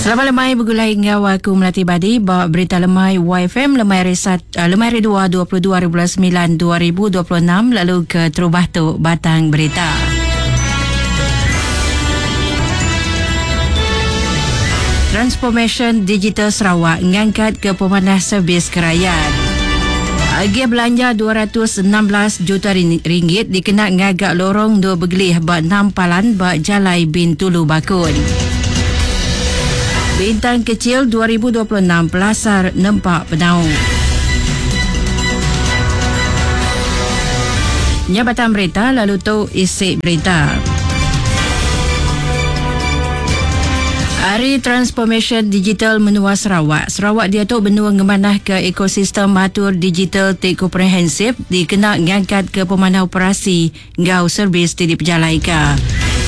Selamat lemai begulai enggau aku Melati Badi ba Berita Lemai YFM lemai hari sat, uh, lemai hari 2 22 hari bulan 9 2026 lalu ke terubah tu batang berita. Transformation Digital Sarawak ngangkat ke pemanah servis ke rakyat. Agih belanja 216 juta ringgit dikena ngaga lorong dua begelih ba enam palan ba Jalai Bintulu Bakun. Bintang Kecil 2026 pelasar nempa penau. Nya batang berita lalu tu isi berita. Hari Transformation Digital Menua Sarawak. Sarawak diatu benung ngemanahka ekosistem atur digital ti komprehensif dikena ngangkatka pemanah operasi enggau servis ti dipejalaika.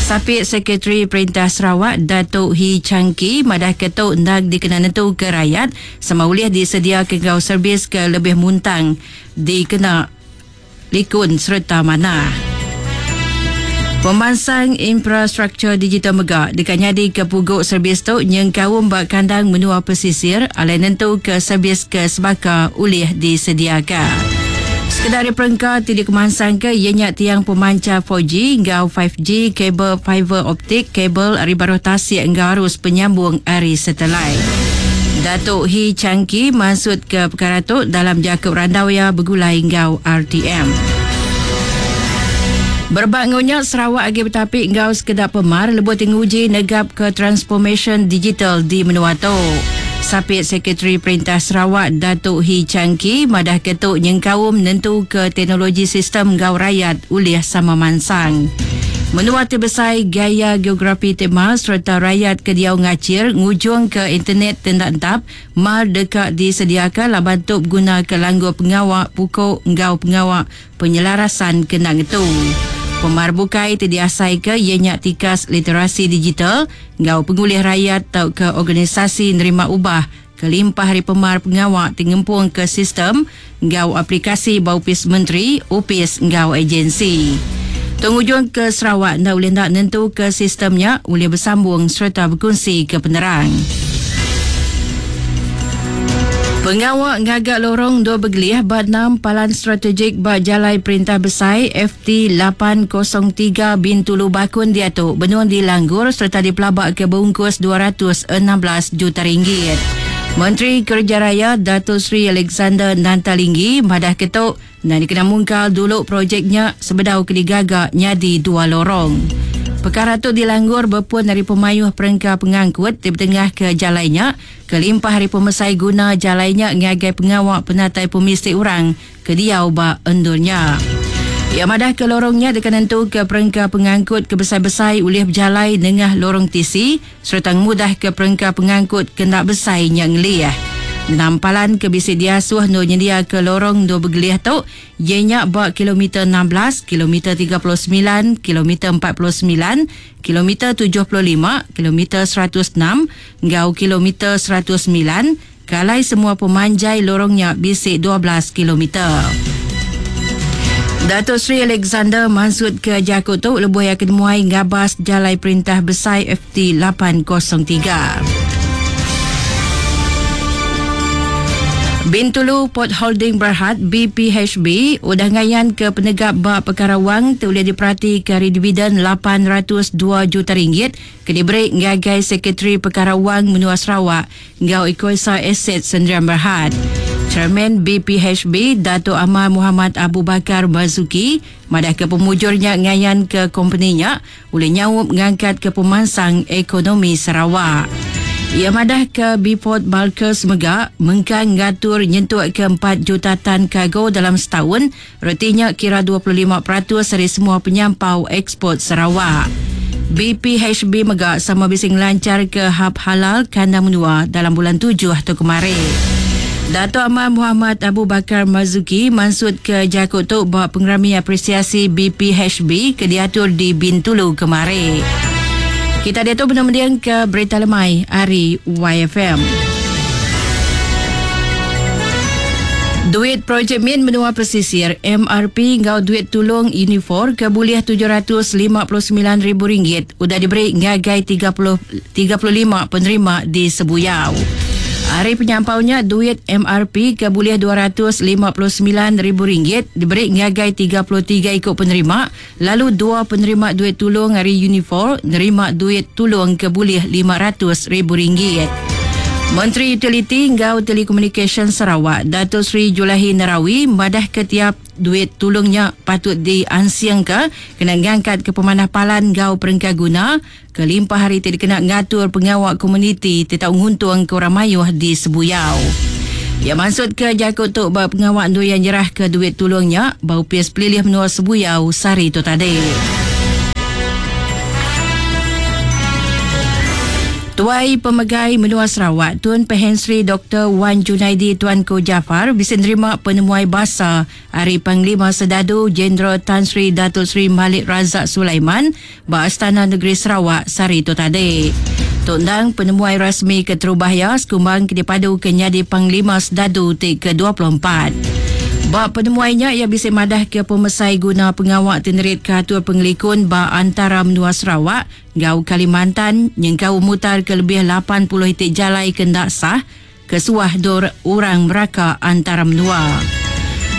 Sapit Sekretari Perintah Sarawak Datuk Hii Chang Kee madahka tu endang dikena nentuka rayat sama ulih disediaka enggau servis ke lebih muntang dikena likun sereta manah. Pemansang infrastruktur digital mega deka nyadika pugu servis tu nyengkaum ba kandang menua pesisir alai nentuka servis ke sebaka ulih disediaka. Sekeda ari perengka ti dikemansangka iya nya tiang pemanchar 4G enggau 5G, kabel fiber optik, kabel ari baruh tasik enggau arus penyambung ari satelit. Datuk Hii Chang Kee mansutka pekara tu dalam jaku randau iya begulai enggau RTM. Berebak enggau nya, Sarawak agi betapi enggau sekeda pemar lebuh ti nguji negapka transformasyen digital di menua tu. Sapit Sekretari Perintah Sarawak Datuk Hii Chang Kee madahka tu nyengkaum nentuka teknologi sistem enggau rayat ulih sama mansang. Menua ti besai, gaya geografi ti mar sereta rayat ke diau ngachir ngujungka internet ti enda entap mar deka disediaka laban tu begunaka langgur pengawa puku enggau pengawa penyelarasan ke enda ngetu. Pemar bukai ti diasaika iya nya tikas literasi digital enggau pengulih rayat tauka organisasi nerima ubah kelimpah ari pemar pengawa ti ngempungka sistem enggau aplikasi ba opis menteri, opis enggau agensi. Tu ngujungka Sarawak enda ulih enda nentuka sistem nya ulih besambung sereta bekunsika penerang. Pengawa ngaga lorong endur begelih ba enam palan strategik ba Jalai Perintah Besai FT 803 Bintulu Bakun diatu benung dilanggur sereta dipelabaka beungkus 216 juta ringgit. Menteri Kereja Raya Dato Sri Alexander Nanta Linggi madahka tu enda dikena mungkal dulu projek nya sebedau ke digaga nyadi dua lorong. Pekara tu dilanggur bepun ari pemayuh perengka pengangkut ti betengahka jalai nya kelimpah ari pemesai guna jalai nya ngagai pengawa penatai pemisi orang ke diau ba endur nya. Iya madahka lorong nya deka nentuka perengka pengangkut ke besai-besai ulih bejalai nengah lorong tisi sereta ngemudahka perengka pengangkut ke enda besai nya ngelih. Enam palan ke bisi diasuh endur nyendiaka lorong endur begelih tu iya nya ba kilometer 16, kilometer 39, kilometer 49, kilometer 75, kilometer 106 enggau kilometer 109, Ke alai semua pemanjai lorong nya bisi 12 kilometer. Dato Sri Alexander mansutka jaku tu lebuh iya ke nemuai ngabas Jalai Perintah Besai FT 803. Bintulu Port Holding Berhad, BPHB, udah ngayanka penegap ba pekara wang ti ulih diperatika ari dividen 802 juta ringgit ke diberi ngagai Sekretari Pekara Wang Menua Sarawak enggau Ekuasa Aset Sendirian Berhad. Chairman BPHB Datuk Amar Mohamad Abu Bakar Marzuki madahka pemujur nya ngayanka kompeni nya ulih nyaup ngangkatka pemansang ekonomi Sarawak. Iya madahka Bport Bulkers mega mengkang ngatur nyentukka empat juta tan kargo dalam setaun Reti nya kira 25% ari semua penyampau eksport Sarawak. BPHB mega sama bisi ngelancharka Hub Halal kandang menua dalam bulan tujuh tu kemari. Datuk Amar Mohamad Abu Bakar Marzuki mansutka jaku tu ba Pengerami Apresiasi BPHB ke diatur di Bintulu kemari. Kita diatu benung mendingka Berita Lemai ari YFM. Duit projek min menua pesisir MRP enggau duit tulung Unifor ke bulih RM759,000 udah diberi ngagai 30, 35 penerima di Sebuyau. Ari penyampau nya, duit MRP ke bulih RM259,000 diberi ngagai 33 iku penerima lalu dua penerima duit tulung ari Unifor nerima duit tulung ke bulih RM500,000. Menteri Utiliti enggau Telekomunikasyen Sarawak, Dato Sri Julaihi Narawi madahka tiap duit tulung nya patut diansingka kena ngangkatka pemanah palan enggau perengka guna kelimpah ari ti dikena ngatur pengawa komuniti ti tau nguntungka orang mayuh di Sebuyau. Iya mansutka jaku tu ba pengawa endur iya nyerahka duit tulung nya ba Opis Pelilih Menua Sebuyau sehari tu tadi. Tuai Pemegai Menua Sarawak, Tun Pehin Sri Doktor Wan Junaidi Tuanku Jaafar bisi nerima penemuai basa ari Panglima Sedadu Jeneral Tan Sri Datuk Seri Malik Razak Sulaiman ba Astana Negeri Sarawak sehari tu tadi. Tu endang penemuai rasmi keterubah iya sekumbang ke dipaduka nyadi Panglima Sedadu ti ke-24. Ba penemuai nya iya bisi madahka pemesai guna pengawa ti neritka atur pengelikun ba antara menua Sarawak enggau Kalimantan nyengkaum mutarka lebih 80 iti jalai ke enda sah ke suah dur orang meraka antara menua.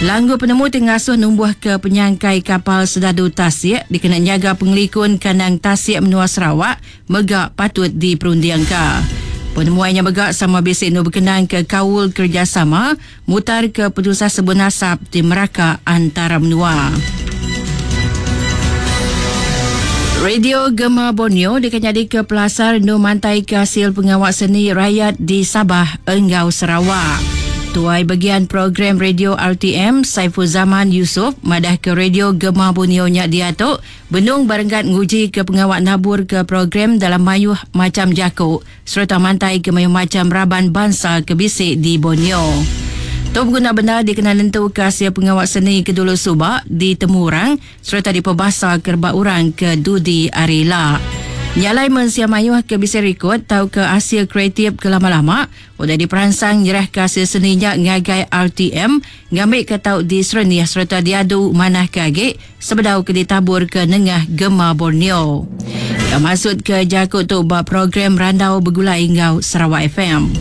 Langgur penemu ti ngasuh numbuhka penyangkai kapal sedadu tasik dikena nyaga pengelikun kandang tasik menua Sarawak mega patut diperundingka. Penemuai nya mega sama bisi endur bekenangka kaul kerejasama mutarka penusah sebun asap ti meraka antara menua. Radio Gema Borneo deka nyadika pelasar endur mantaika asil pengawa seni rayat di Sabah enggau Sarawak. Tuai Begian Program Radio RTM Saiful Zaman Yusof madahka Radio Gema Borneo nya diatu benung barenggat ngujika pengawa naburka program dalam mayuh macham jaku sereta mantai ke mayuh macham raban bansa ke bisi di Borneo. Tu beguna bendar dikena nentuka asil pengawa seni ke dulu suba ditemu orang sereta dipebasa ke rebak orang ke dudi hari ila. Nya alai mensia mayuh ke bisi rikod tauka asil kreatif ke lama-lama udah diperansang nyerahka asil seni nya ngagai RTM ngambika tau diserenih sereta diadu manahka agi sebedau ke ditaburka nengah Gema Borneo. Iya mansutka jaku tu ba program Randau Begulai enggau Sarawak FM.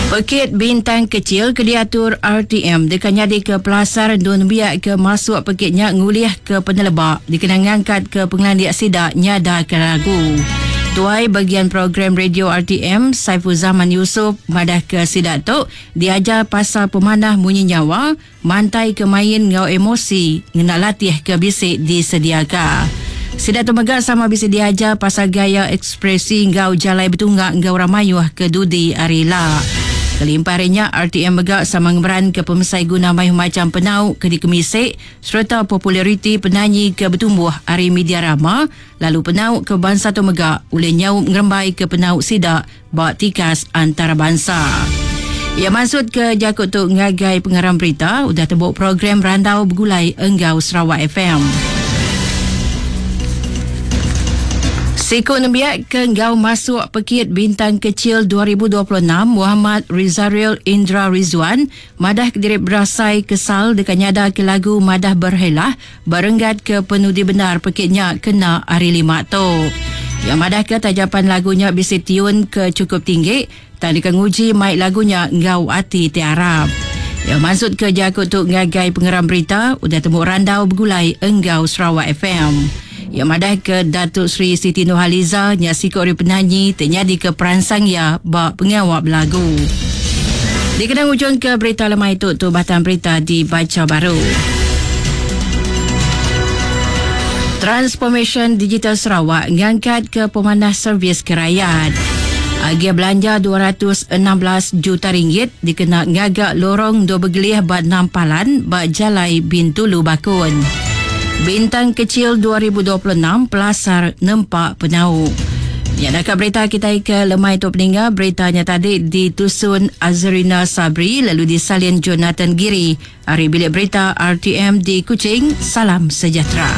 Pekit Bintang Kecil ke diatur RTM deka nyadika pelasar endur nembiak ke masuk pekit nya ngulihka peneleba dikena ngangkatka pengelandik sida nyadaka lagu. Tuai Bagian Program Radio RTM, Saiful Zaman Yusof madahka sida tu diajar pasal pemanah munyi nyawa, Mantai ke main enggau emosi ngena latih ke bisi disediaka. Sida tu mega sama bisi diajar pasal gaya ekspresi enggau jalai betunga enggau orang mayuh ke dudi hari ila. Kelimpah ari nya, RTM mega sama ngemeranka pemesai guna mayuh macham penau ke dikemisi sereta populariti penanyi ke betumbuh ari media rama lalu penau ke bansa tu mega ulih nyaup ngerembaika penau sida ba tikas antarabansa. Iya mansutka jaku tu ngagai pengarang berita udah tembu program randau begulai enggau Sarawak FM. Siku nembiak ke enggau masuk Pekit Bintang Kecil 2026 Muhammad Rizaril Indra Rizwan madah kediri berasai kesal deka nyadaka lagu Madah Berhelah Ba renggat ke penudi bendar pekit nya kena Hari Lima tu. Iya madahka tajapan lagu nya bisi tiun ke chukup tinggi tang deka nguji mai lagu nya enggau ati ti arap. Iya mansutka jaku tu ngagai pengeram berita udah tembu randau begulai enggau Sarawak FM. Iya madahka Datuk Seri Siti Nurhaliza nya siku ari penanyi ti nyadika peransang iya ba pengawa belagu. Dikena ngujungka berita lemai tu, tu batang berita dibacha baru. Transformasyen Digital Sarawak ngangkatka pemanah servis ke rayat. Agih belanja RM216 juta ringgit dikena ngaga lorong endur begelih ba enam palan ba Jalai Bintulu Bakun. Bintang Kecil 2026 pelasar nempa penau. Nya naka berita kitai ke lemai tu peninga berita nya tadi ditusun Azrina Sabri lalu disalin Jonathan Giri ari Bilik Berita RTM di Kuching. Salam sejahtera.